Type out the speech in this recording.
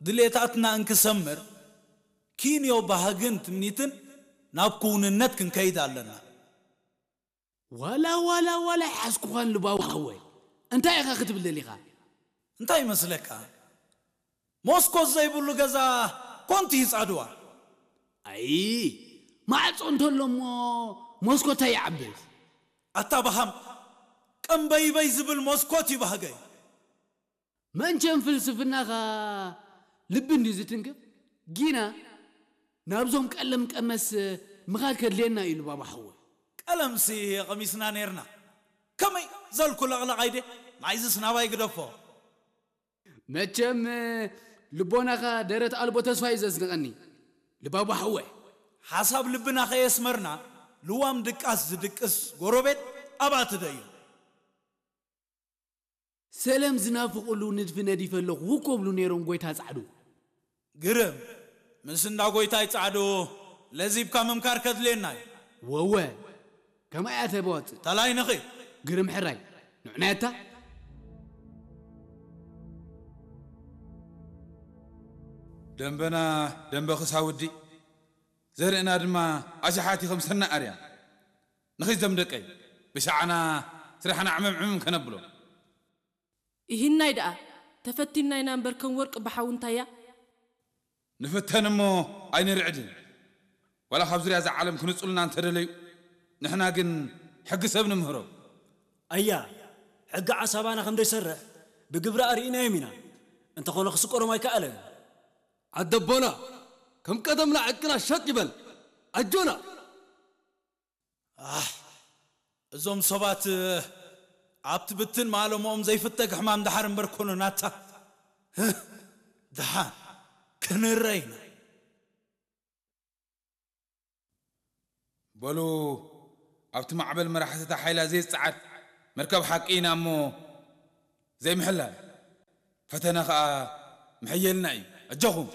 ድሌታትና እንክሰምር፣ ኪንዮ ባህግን ትምኒትን ናብ ክውንነት ክንከይድ ኣለና። ዋላ ዋላ ዋላ ይሓዝኩኻን ልባዊ ሓወይ። እንታይ ኢኻ ክትብል ደሊኻ? እንታይ ይመስለካ? ሞስኮት ዘይብሉ ገዛ ኮንቲ ይጻድዋ። ኣይ፣ ማዕጾ እንተሎ እሞ ሞስኮት እንታይ ይዓብስ? ኣታ ባሃም፣ ቀምበይበይ ዝብል ሞስኮት ይባህገይ። መንቸም ፍልስፍናኻ ልቢ እንድዩ ዝትንክፍ። ጊና ናብዞም ቀለም ቀመስ ምኻድ ከድልየና እዩ ልባባ ሓወይ። ቀለምሲ ቀሚስና ነርና። ከመይ ዘልኩ ለቕለቕ ኣይደ? ናይዝስ ናባይ ግደፎ። መቸም ልቦናኻ ደረት ኣልቦ ተስፋ እዩ ዘስንቐኒ ልባባ ሓወይ። ሓሳብ ልብና ከየስመርና፣ ልዋም ድቃስ ዝድቅስ ጎረቤት ኣብኣ ትደዩ። ሰለም ዝናፍቕሉ ንድፊ ነዲፈ ኣለኹ እኮ ብሉ ነይሮም ጎይታ ጻዕዱ። ግርም፣ ምስ እንዳ ጎይታይ ጻዕዱ ለዚብካ ምምካር ከድልየና እዩ። ወወ፣ ከማይ እያ ተበዋጽእ። ተላይንኺ። ግርም ሕራይ፣ ንዕናየታ። ደንበና ደንበ ክሳውዲ፣ ዘርእና ድማ ኣሽሓት ከም ሰና ኣርያ። ንኺድ ዘም ደቀይ፣ ብሻዕና ስራሕና ዕምም ዕምም ከነብሎ። ይህናይ ደኣ ተፈቲንና ኢና እምበር ከም ወርቂ ብሓዊ እንታያ። ንፍተን እሞ ኣይንርዕድን። ዋላ ካብ ዙርያ እዛ ዓለም ክንጹልና እንተደለዩ፣ ንሕና ግን ሕጊ ሰብ ንምህሮ። ኣያ፣ ሕጊ ዓሳባና ከም ዘይሰርሕ ብግብሪ ኣርኢናዮም ኢና። እንተኾነ ክስቆሮም ኣይከኣለን። ዓደቦና ከም ቀደምና ዕቅና ሸጥ ይበል። ኣጆና። ኣሕ፣ እዞም ሰባት ኣብቲ ብትን ማለምኦም ዘይፍተግ ሕማም ደሓር እምበር ኮነ ናታ። ደሓን ክንረ ኢና። በሉ፣ ኣብቲ ማዕበል መራሕቲ እታ ሓይላ ዘይጽዓድ መርከብ ሓቂ ኢና እሞ ዘይምሕላል ፈተነ ኸኣ ምሕየልና እዩ። ኣጆኹም።